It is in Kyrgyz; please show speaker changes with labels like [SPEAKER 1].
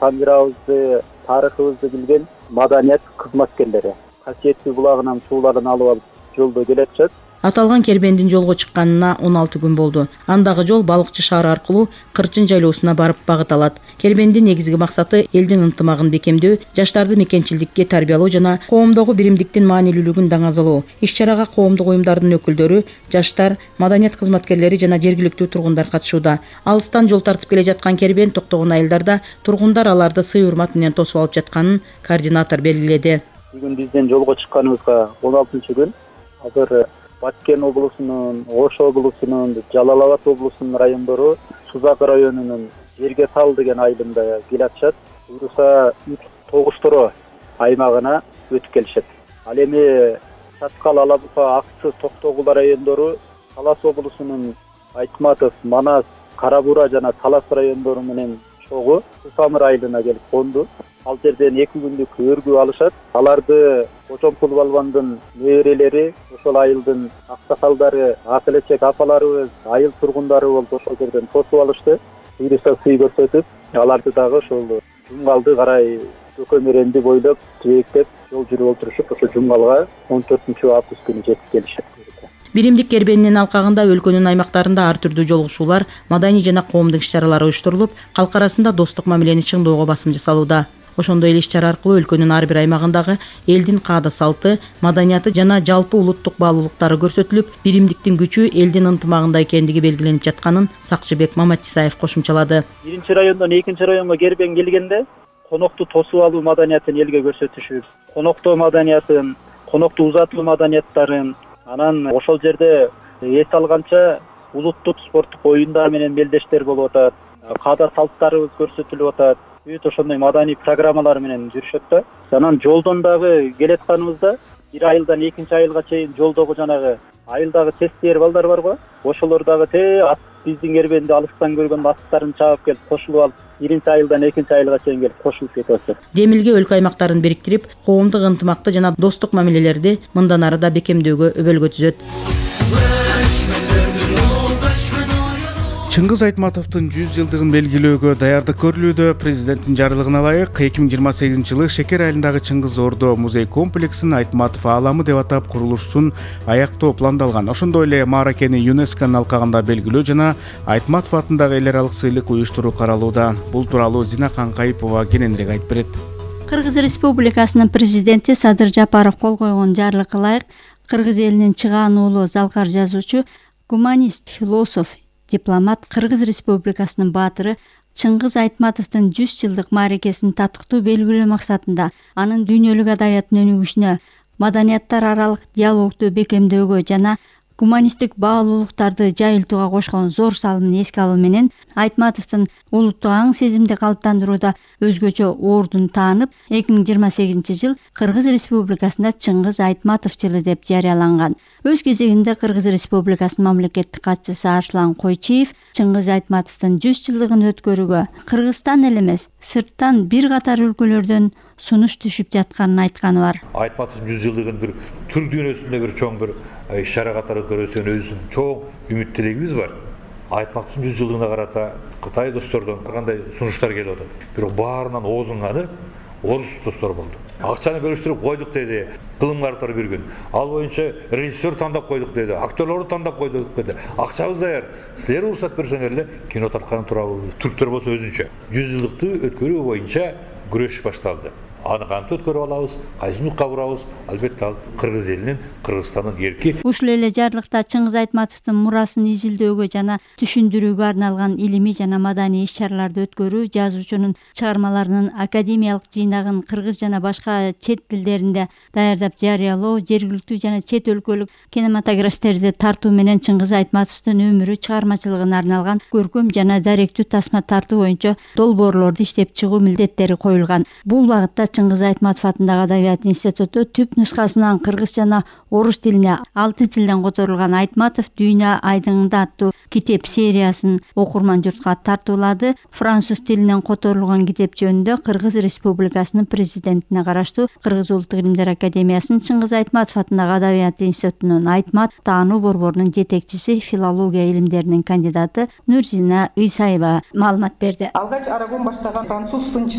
[SPEAKER 1] тангырабызды, тарыхыбызды билген маданият кызматкерлери касиеттүү булагынан сууларын алып алып жолдо келатышат.
[SPEAKER 2] Аталган кербендин жолго чыкканына 16 күн болду. Андагы жол Балыкчы шаары аркылуу Кырчын жайлоосуна барып багыт алат. Кербендин негизги максаты элдин ынтымагын бекемдөө, жаштарды мекенчилдикке тарбиялоо жана коомдогу биримдиктин маанилүүлүгүн даңазалоо. Иш-чарага коомдук уюмдардын өкүлдөрү, жаштар, маданият кызматкерлери жана жергиликтүү тургундар катышууда. Алыстан жол тартып келе жаткан кербен токтогон айылдарда тургундар аларды сый урмат менен тосуп алып жатканын координатор белгиледи.
[SPEAKER 1] Бүгүн биздин жолго чыкканыбызга 16 күн. Азыр Баткен облусунун, Ош облусунун, Жалал Абад облусунун райондору Сузак районунун Жерге Тал деген айылында келатышат. Буюрса Тогушторо аймагына өтүп келишет. Ал эми Чаткал, Алабука, Аксы, Токтогул райондору Талас облусунун Айтматов, Манас, Кара-Бура жана Талас райондору менен чогуу Сусамыр айылына келип конду. Ал жерден 2 күндүк өргүү алышат. Аларды Кочомкул балбандын неберелери, ошол айылдын аксакалдары, ак-элечек апаларыбыз, айыл тургундары болуп ошол жерден тосуп алышты. Буюрса сый көрсөтүп, аларды дагы ошол Жумгалды карай Көкөмөренди бойлоп, жээктеп жол жүрүп отурушуп, ошо Жумгалга 14-август күнү жетип келишет.
[SPEAKER 2] Биримдик кербенинин алкагында өлкөнүн аймактарында ар түрдүү жолугушуулар, маданий жана коомдук иш-чаралар уюштурулуп, калк арасында достук мамилени чыңдоого басым жасалууда. Ошондой эле иш-чара аркылуу өлкөнүн ар бир аймагындагы элдин каада-салты, маданияты жана жалпы улуттук баалуулуктары көрсөтүлүп, биримдиктин күчү элдин ынтымагында экендиги белгиленип жатканын Сакчыбек Маматисаев кошумчалады.
[SPEAKER 1] 1-райондон 2-районго кербен келгенде конокту тосуп алуу маданиятын элге көрсөтүшүбүз, коноктоо маданиятын, конокту узатуу маданияттарын, анан ошол жерде эс алганча улуттук спорттук оюндар менен мелдештер болуп атат, каада-салттарыбыз көрсөтүлүп атат. Бүт ошондой маданий программалар менен жүрүшөт да. Анан жолдон дагы келатканыбызда бир айылдан 2 айылга чейин жолдогу жанагы айылдагы тестер балдар барго, ошолор дагы биздин кербенди алыстан көргөн аттарын чаап келип кошулуп алып, 1-айылдан 2-айылга чейин келип кошулуп кетип атат.
[SPEAKER 2] Демилге өлкө аймактарын бириктирип, коомдук ынтымакты жана достук мамилелерди мындан ары да бекемдөөгө өбөлгө түзөт.
[SPEAKER 3] Чыңгыз Айтматовдун 100 жылдыгын белгилөөгө даярдык көрүлүүдө. Президенттин жарлыгына ылайык 2028-жылы Шекер айылындагы Чыңгыз Ордо музей комплексин Айтматов ааламы деп атап курулушун аяктоо пландалган. Ошондой эле Мааракени ЮНЕСКОнун алкагында белгилөө жана Айтматов атындагы эл аралык сыйлык уюштуруу каралууда. Бул тууралуу Зина Канкайыпова кененирээк айтып берет.
[SPEAKER 4] Кыргыз Республикасынын президенти Садыр Жапаров кол койгон жарлыкка ылайык кыргыз элинин чыгаануулуу залкар жазуучу, гуманист, философ, дипломат, Кыргыз Республикасынын баатыры Чыңгыз Айтматовдун 100 жылдык мааракесин татыктуу белгилөө максатында анын дүйнөлүк адабияттын өнүгүшүнө, маданияттар аралык диалогду бекемдөөгө жана гуманисттик баалуулуктарды жайылтууга кошкон зор салымын эске алуу менен Айтматовдун улуттук аң сезимди калыптандырууда өзгөчө ордун таанып, 2028-жыл Кыргыз Республикасында Чыңгыз Айтматов жылы деп жарыяланган. Өз кезегинде Кыргыз Республикасынын мамлекеттик катчысы Арслан Койчиев Чыңгыз Айтматовдун 100 жылдыгын өткөрүүгө Кыргызстан эле эмес, сырттан бир катар өлкөлөрдөн сунуш түшүп жатканын айтканы бар.
[SPEAKER 5] Айтматовдун 100 жылдыгын бир түр дүйнөсүндө бир чоң бир иш-чара катары өткөрүүсүн өзүнүн чоң үмүт тилегибиз бар. Айтматовдун 100 жылдыгына карата Кытай достордон кандай сунуштар келип атат. Бирок баарынан оозунганы орус достор болду. Акчаны бөлүштүрүп койдук деди, кылымгардтар бир күн. Ал боюнча режиссер тандап койдук деди, актерлорду тандап койдук деди. Акчабыз даяр. Силер уруксат берсеңер эле кино тарткан турабыз. Түрктөр болсо өзүнчө 100 жылдыкты өткөрүү боюнча күрөш башталды. Аны кантип өткөрүп алабыз, кайсы нукка бурабыз? Албетте ал Кыргыз элинин, Кыргызстандын эрки.
[SPEAKER 4] Ушул эле жарлыкта Чыңгыз Айтматовдун мурасын изилдөөгө жана түшүндүрүүгө арналган илимий жана маданий иш-чараларды өткөрүү, жазуучунун чыгармаларынын академиялык жыйнагын кыргыз жана башка чет тилдеринде даярдап жарыялоо, жергиликтүү жана чет өлкөлүк кинематографисттерди тартуу менен Чыңгыз Айтматовдун өмүрү, чыгармачылыгына арналган көркөм жана даректүү тасма тартуу боюнча долбоорлорду иштеп чыгуу милдеттери коюлган. Бул багытта Чыңгыз Айтматов атындагы Адабият институту түп нускасынан кыргыз жана орус тилине 6 тилден которулган Айтматов дүйнө айдыңында аттуу китеп сериясын окурман журтка тартуулады. Француз тилинен которулган китеп жөнүндө Кыргыз Республикасынын президентине караштуу Кыргыз Улуттук илимдер академиясынын Чыңгыз Айтматов атындагы Адабият институтунун Айтмат таануу борборунун жетекчиси, филология илимдеринин кандидаты Нурзина Ыйсаева маалымат берди.
[SPEAKER 6] Алгач арагон баштаган француз сынчылары